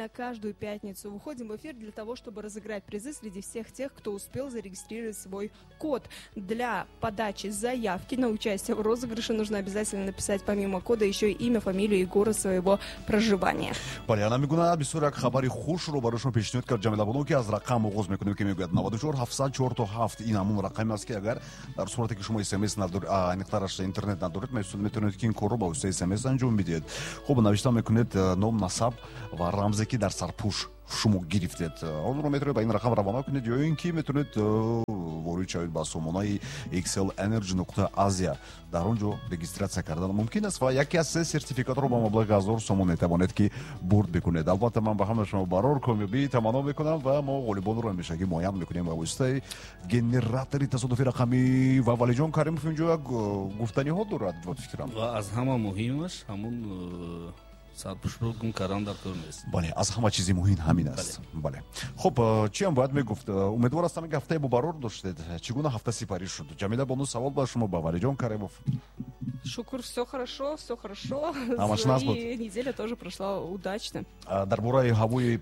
Обязательно каждую пятницу выходим в эфир для того, чтобы разыграть призы среди всех тех, кто успел зарегистрировать свой код. Для подачи заявки на участие в розыгрыше нужно обязательно написать помимо кода еще и имя, фамилию и город своего проживания. Бале, ана мегуна бисёр як хабари хушро барои шумо пешниҳод кард Ҷамила Бону, ки аз рақам оғоз мекунем, ки мегӯяд 94 704 то 7. Ин ҳамон рақаме аст, ки агар дар сурате ки шумо смс надоред, аниқтараш интернет надоред, метавонед, ки ин корро ба воситаи смс анҷом бидиҳед. Хуб, навишта мекунед ном, насаб ва рамзе, ки дар сарпӯш шумо гирифтед, онро метавонед ба ин рақам равона кунед ё ин ки метавонед ворид шавед ба сомонаи xlenergy.asia. Дар он ҷо регистрация кардан мумкин аст ва яке аз се сертификатро ба маблағи 1000 сомон метавонед, ки бурд бикунед. Албатта, ман ба ҳама шумо барор комёбӣ таманно мекунам ва мо ғолибонро ҳамешагӣ муайян мекунем ба воситаи генератори тасодуфи рақамӣ. Ва Валиҷон Каримов инҷо як гуфтаниҳо дорад, ба фикрам. Ва аз ҳама муҳимаш, ҳамун сарпӯшро гум кардан дар кор нест. Бале, аз ҳама чизи муҳим ҳамин аст, бале. Хуб, чиам бояд мегуфт? Умедвор ҳастам, ки ҳафтаи бобарор доштед. Чӣ гуна ҳафта сипарӣ шуд, Ҷамила бону? Савол ба шумо, ба Валиҷон Каримов. Шукр, все хорошо, все хорошо. Ҳамаш нағз буд. И неделя тоже прошла удачно. Дар бораи ҳавои